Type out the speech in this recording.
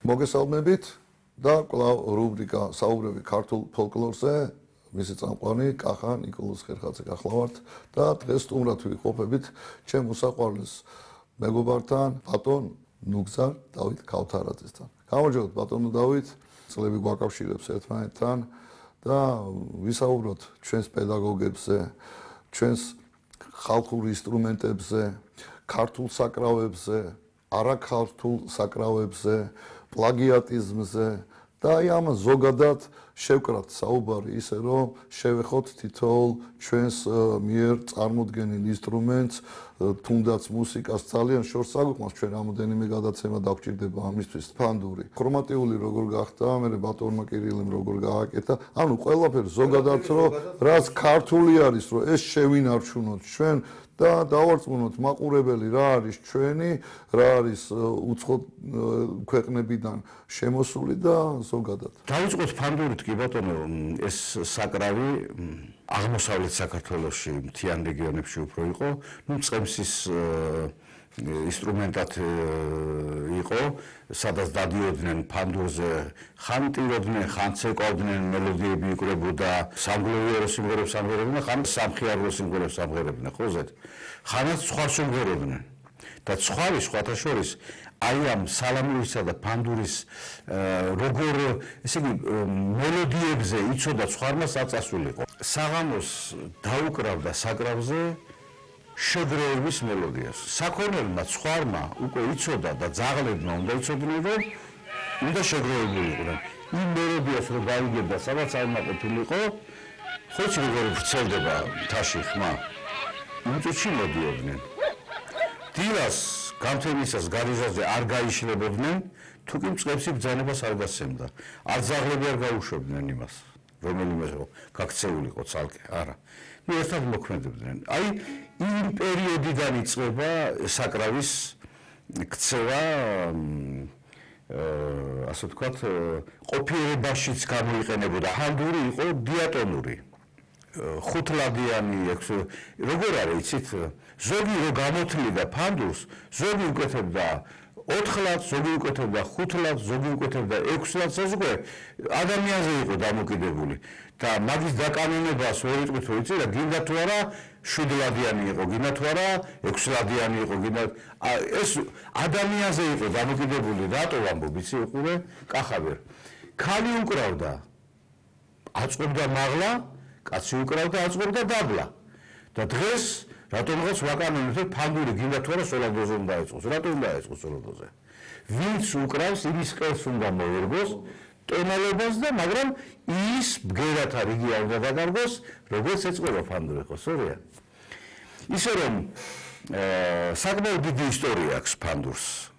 მოგესალმებით და კვლავ რუბრიკა საუბრები ქართულ ფოლკლორზე. მისი წამყვანი კახა ნიკოლოზ ხერხაძე გახლავართ და დღეს სტუმრად ვიყოფებით ჩემ უსაყვარლეს მეგობართან ბატონ ნუგზარ დავით ქავთარაძესთან. გამარჯობთ ბატონო დავით, წლები გვაკავშირებს ერთმანეთთან და ვისაუბროთ ჩვენს პედაგოგებზე, ჩვენს ხალხურ ინსტრუმენტებზე, ქართულ საკრავებზე, არაქართულ საკრავებზე, პლაგიატიზმზე და აი ამას ზოგადად შევკრათ საუბარი ისე რომ შევეხოთ თითოეულ ჩვენს მიერ წარმოდგენილ ინსტრუმენტს, თუნდაც მუსიკას ძალიან შორს აგვიყვანს, ჩვენ რამოდენიმე გადაცემა დაგვჭირდება ამისთვის. ფანდური, ქრომატიული როგორ გახდა, მე ბატონმა კირილემ როგორ გააკეთა, ანუ ყველაფერი ზოგადად რომ რაც ქართული არის, რომ ეს შევინარჩუნოთ ჩვენ და დავარწმუნოთ მაყურებელი რა არის ჩვენი, რა არის უცხო ქვეყნებიდან შემოსული და ზოგადად. დავიწყოთ ფანდურით კი ბატონო, ეს საკრავი აღმოსავლეთ საქართველოში მთიან რეგიონებში უფრო იყო, წყემსის ინსტრუმენტად იყო, სადაც დადიოდნენ ფანდურზე, ხან ტიროდნენ, ხან ცეკვავდნენ, მელოდიები იკვრებოდა, სამგლოვიარო სიმღერებს ამღერებდნენ, ხან სამხიარო სიმღერებს ამღერებდნენ, ხოზეთ. ხანაც ცხვარს უმღეროდნენ. და ცხვარი სხვათა შორის აი ამ სალამურისა და ფანდურის როგორ ესე იგი მელოდიებზე იცოდა ცხვარმა საწასულიყო. საღამოს დაუკრავდა საკრავზე შეგროების მელოდიას. საქონელმა ცხვარმა უკვე იცოდა და ძაღლებმა უნდა იცოდნენ რომ უნდა შეგროებულიყვნენ. იმ მელოდიას რომ გაიგებდა სადაც აიმაყებულიყო, ხოჭი როგორ ვრცელდება მთაში ხმა. იმ წუთში მოდიოდნენ. დილას გამთენისას გარიზაზე არ გაიშლებოდნენ, თუ კი მწყემსი ბრძანებას არ გასცემდა. არ ძაღლები არ გაუშვებდნენ იმას, რომელიმე გაქცეულიყო ცალკე, არა. ერთად მოქმედებდნენ. აი იმ პერიოდიდან იწყება საკრავის ქცევა, ასე ვთქვათ, ყოფიერებაშიც გამოიყენებოდა. ფანდური იყო დიატონური. ხუთლადიანი, როგორ არის იცით, ზოგი რო გამოთლიდა ფანდურს, ზოგი უკეთებდა 4 ლადს, ზოგი უკეთებდა 5 ლადს, ზოგი უკეთებდა 6 ლადს, ეს უკვე ადამიანზე იყო დამოკიდებული და მაგის დაკანონებას ვერ იტყვით რომ იცი და გინდა თუ არა 7 ლადიანი იყო, გინდა თუ არა 6 ლადიანი იყო, გინდა ეს ადამიანზე იყო დამოკიდებული, რატო ვამბობ იცი უყურე კახაბერ. ქალი უკრავდა, აწყვებდა მაღლა, კაცი უკრავდა, აწყვებდა დაბლა. და დღეს რატომღაც ვაკანონებთ ფანდური გინდა თუ არა სოლადოზე უნდა ეწყოს. რატო უნდა ეწყოს სოლადოზე? ვინც უკრავს, იმის ყელს უნდა მოერგოს ტონალობას და მაგრამ ის ბგერათა რიგი არ უნდა დაგარგოს, როგორც ეწყობა ფანდური, ხო სწორია? ისე რომ საკმაოდ დიდი ისტორია აქვს ფანდურს.